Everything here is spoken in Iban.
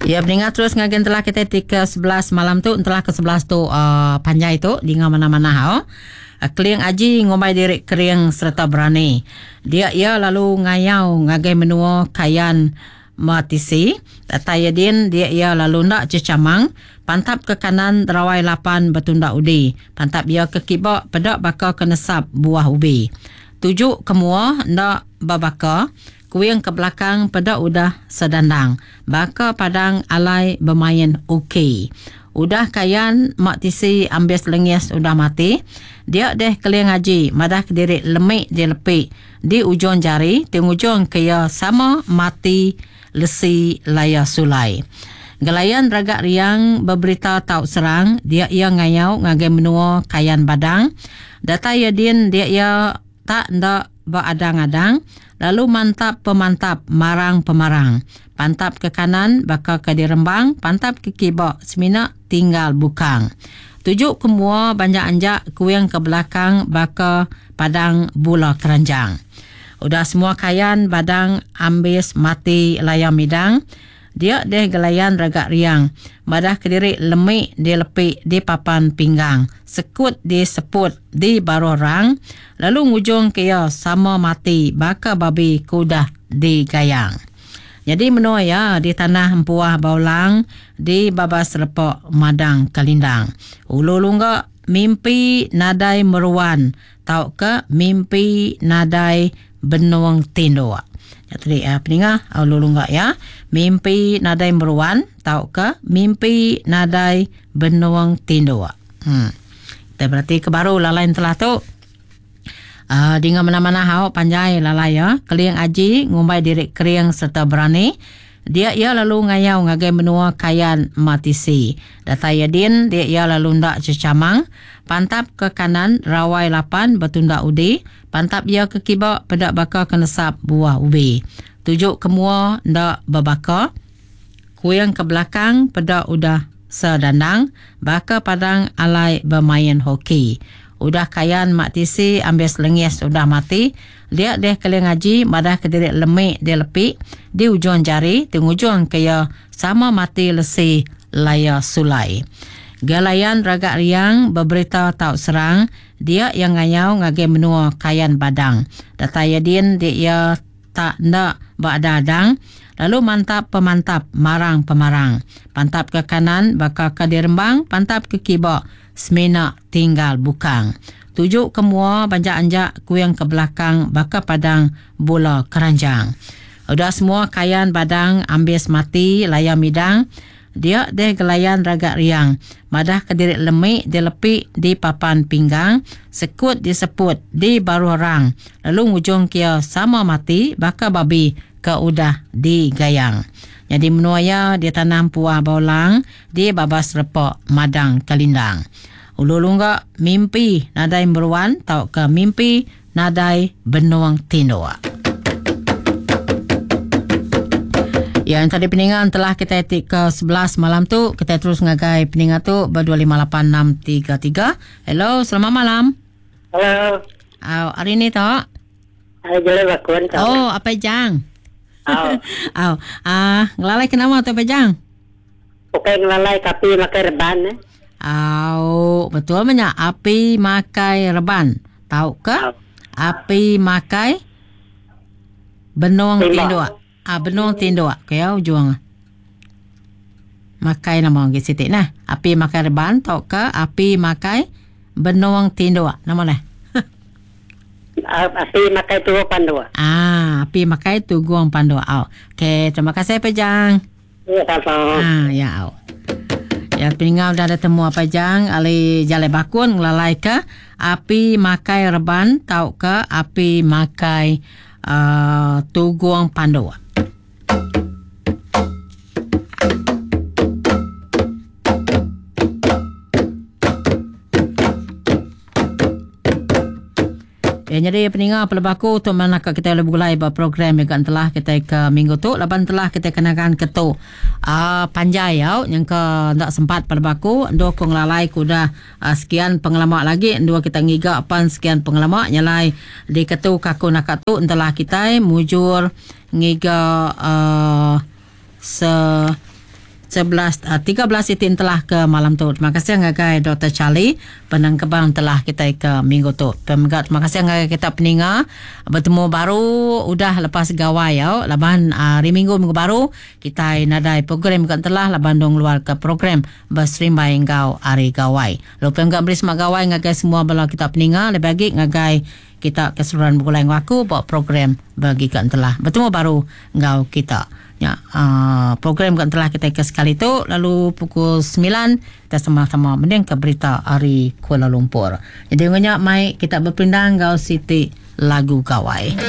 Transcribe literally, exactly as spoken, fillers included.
Ya, pendengar terus ngagen telah kita tiga sebelas malam tu, telah ke sebelas tu uh, panjai tu dinga mana-mana hau. Uh, Keling Aji ngombai diri kering serta berani. Dia ia lalu ngayau ngagai menua Kayan Matisi. Datai din dia ia lalu ndak cecamang. Pantap ke kanan rawai lapan bertunda udi. Pantap ia ke kibak pedak baka kenesap buah ubi. Tujuk ke mua ndak babaka. Kuing ke belakang pedak udah sedandang. Baka padang alai bermain okey. Udah Kayan Mak Tisi ambis lengis udah mati. Dia deh Keling Aji madah ke diri lemik di lepik di ujung jari ti ujung ke ia sama mati lesi laya sulai. Gelayan ragak riang berberita tau serang, dia ia ngayau ngagai menua Kayan Badang. Datai ia din dia ia tak ndak beradang-adang, lalu mantap pemantap marang pemarang. Pantap ke kanan baka ke dirembang, pantap ke kibak semina tinggal bukang. Tujuk ke mua banyak anjak, kuing ke belakang baka padang bula keranjang. Udah semua Kayan Badang ambis mati layam midang. Dia deh gelayan ragak riang. Madah kediri lemik di lepik di papan pinggang. Sekut di seput di baruh rang. Lalu ngujung ke ia sama mati baka babi kudah di gayang. Jadi menua ya di tanah empuah baulang di babas repok madang kalindang. Ulu lunggak mimpi nadai meruan tau ke mimpi nadai benuang tinduk. Jadi uh, peningah ulu lunggak ya, mimpi nadai meruan tau ke mimpi nadai benuang tinduk. Hmm. Kita berarti ke baru lalain telah tu. Uh, dinga mana-mana hau panjai lalai ya. Keling Aji ngumbai diri kering serta berani. Dia ia lalu ngayau ngagai menua Kayan Matisi. Datai din dia ia lalu ndak cecamang. Pantap ke kanan rawai lapan bertunda udi. Pantap ia ke kibak pedak baka kenesap buah ubi. Tujuk ke mua ndak berbaka. Kuyang ke belakang pedak udah sedandang. Baka padang alai bermain hoki. Udah Kayan Mak Tisi ambil selengis udah mati. Dia deh Keling Aji madah ke diri lemik dia lepik di ujung jari di ujung ke ia sama mati lesi laya sulai. Galayan ragak riang berberita tau serang, dia yang ngayau ngagai menua Kayan Badang. Datai din dia ia tak ndak berada-adang, lalu mantap pemantap marang pemarang. Pantap ke kanan baka ke dirembang, pantap ke kibak semina tinggal bukang. Tujuk ke mua banjak-anjak, kuyang ke belakang baka padang bola keranjang. Udah semua Kayan Badang ambis mati layam midang. Dia deh gelayan ragak riang. Madah ke diri lemik di lepik di papan pinggang, sekut di seput di baruh rang. Lalu ngujung kia sama mati baka babi ke udah digayang. Jadi menua ya dia tanam puah baulang di babas repok madang kalindang. Ulu lunggak mimpi nadai meruan tau ke mimpi nadai benuang tinduk. Ya, yang tadi peningan telah kita etik ke sebelas malam tu. Kita terus ngagai peningan tu berdua lima lapan enam tiga tiga. Hello, selamat malam. Hello. Oh, hari ni tak? Hari jelek bakun. Oh, apa jang? Oh. Oh, ah, ngelalai kenapa tu apa jang? Bukan ngelalai tapi makai reban eh. Oh, betul banyak api makai reban. Tahu ke? Oh. Api makai benung Tembak. Tinduk. Ah, benung tinduk. Okey, ujung. Makai nama ke sitik nah. Api makai reban tau ke api makai benung tinduk. Nama lah. Api makai tuguang pandua. Ah, api makai tuguang pandua. Oh. Okey, terima kasih Pejang. Ya, sama. Ah, ya. Oh. Ya, peninggal dah ada temu apa jang ali jalai bakun ngelalai ke api makai reban tau ke api makai uh, tuguang pandua. Ya, jadi peninggal pelebaku untuk mana kita boleh bergulai ber program yang telah kita ke minggu tu laban telah kita kenakan ketu uh, panjai yau yang ke tak sempat pelebaku dua kong lalai kuda uh, sekian pengelama lagi dua kita ngiga pan sekian pengelama nyalai di ketu kaku nak tu telah kita mujur ngiga uh, se sebelas uh, tiga belas itin telah ke malam tu. Terima kasih ngagai Doktor Charlie penengkebang telah kita ke minggu tu. Pemega terima kasih ngagai kita peninga, bertemu baru udah lepas gawai ya. Laban uh, hari minggu minggu baru kita nadai program ke telah laban dong luar ke program berserimbai ngau hari gawai. Lalu pemega beri semak gawai ngagai semua bala kita peninga, lebih lagi ngagai kita keseluruhan bergulai ngau aku buat program bagi ke telah. Bertemu baru ngau kita. Ya, uh, program kan telah kita ke sekali tu, lalu pukul sembilan kita sama-sama mending ke berita hari Kuala Lumpur. Jadi banyak mai kita berpindang ngau Siti lagu gawai.